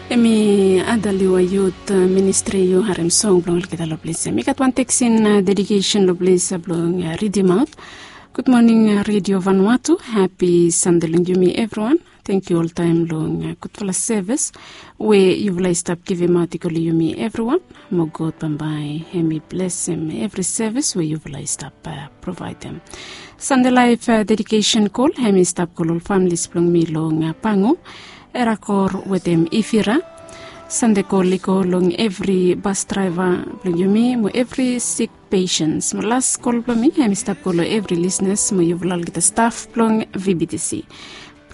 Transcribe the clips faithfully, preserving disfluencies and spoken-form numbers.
Em i Adaliwa Youth Ministri. Yu harem song blong olgeta long ples ya. Mi gat wan teksin dedikesen long ples ya blong ridim aut. Gud moning, Redio Vanuatu. Hapi Sande long yumi evriwan. Tenkyu oltaem long gudfala sevis we yufala i stap givimaot i go long yumi evriwan. Mo God bambae hem i blesem evri sevis we yufala i stap provaedem. Sande laef dedikesen kol hem i stap go long ol familis blong mi long Pangu, Erakor wetem Ifira. Sande kol i go long evri bas draeva blong yumi mo evri sik pesens. Mo las kol blong mi hem i stap go long evri lisnas mo yufala olgeta staf blong V B T C.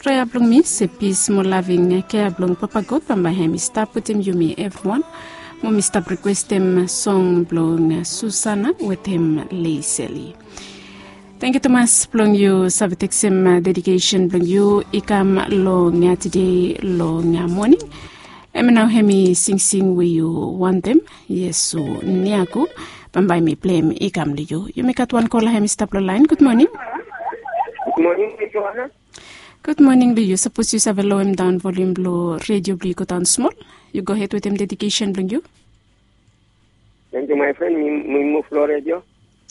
Prea blong mi se pis mo laving kea blong Papa God bambae hem i stap wetem yumi evriwan. Mo mi stap rikwestem song blong Susana wetem Leiseli. Tenkyu tumas blong yu save teksem dedikesen blong yu i kam long tede long moning. Em nao hem i singsing we yu wantem, Iesu Niaku. Bambae mi pleim i kam long yu. Yumi gat wan kola hem i stap long laen. Gud moning. Gud moning, Joana. Gud moning long yu. Sapos yu save loem daon volium blong redio blong yu godaon smol, yu gohed wetem dedikesen blong yu. Tenkyu maefren, mi muv long redio.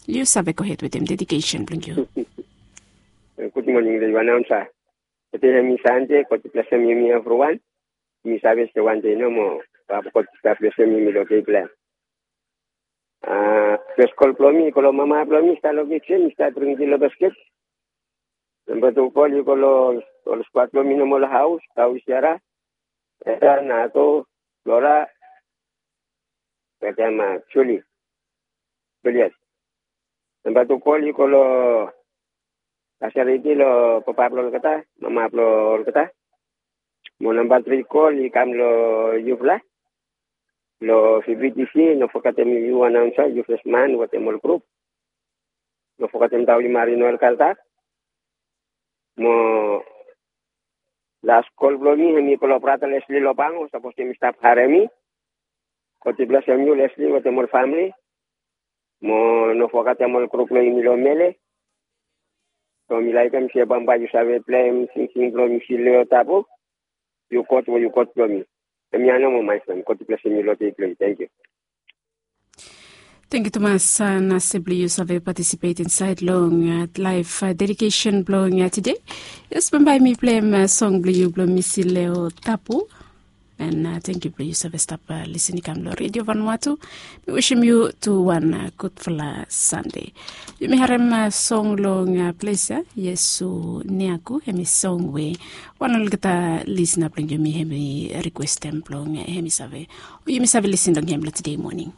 Yu save gohed wetem dedikesen blong yu. Gud moning long yu, anaonsa. Tede hem i Sande, God i blesem yumi evriwan. Mi save se wande nomo, Papa God i stap blesem yumi long dei blong hem. Fes kol blong mi i go long mama blong mi i stap long kisen, i stap dring ti long basket. Namba tu kol i go long ol skwat blong mi nomo long haos, Tau, Siara, Eta, Nato, Flora, wetem Juli, Juliet. Namba tu kol i go long Kasariti long papa blong olgeta, mama blong olgeta. Mo namba tri kol i kam long yufala long V B T C, no fogetem yu anaonsa, yu fesman wetem ol grup. No fogetem Dauli Mari Noel Kaltak. Mo las kol blong mi hem i go long brata Lesli long Pangu, sapos hem i stap harem mi. God i blesem yu Lesli wetem ol famili. Mo no fogetem ol grup blong yumi long Mele. So mi laekem se bambae yu save pleim singsing blong Misi Leo Tabu. Yu God we yu God blong mi. Hemia nomo maefren, God i blesem yu long dei blong yu. Tenkyu. Tenkyu tumas, nase blong yu save patisipet insaed long laef dedikesen blong tede. Yes, bambae mi pleim song blong yu blong Misi Leo Tabu. And tenkyu blong yu save stap lisin i kam long Redio Vanuatu. Mi wisim yu tu wan gudfala Sande. Yumi harem song long ples ya, Iesu Niaku, hem i song we wan olgeta lisna blong yumi hem i rikwestem blong hem i save, o yumi save lisin long hem long tede moning.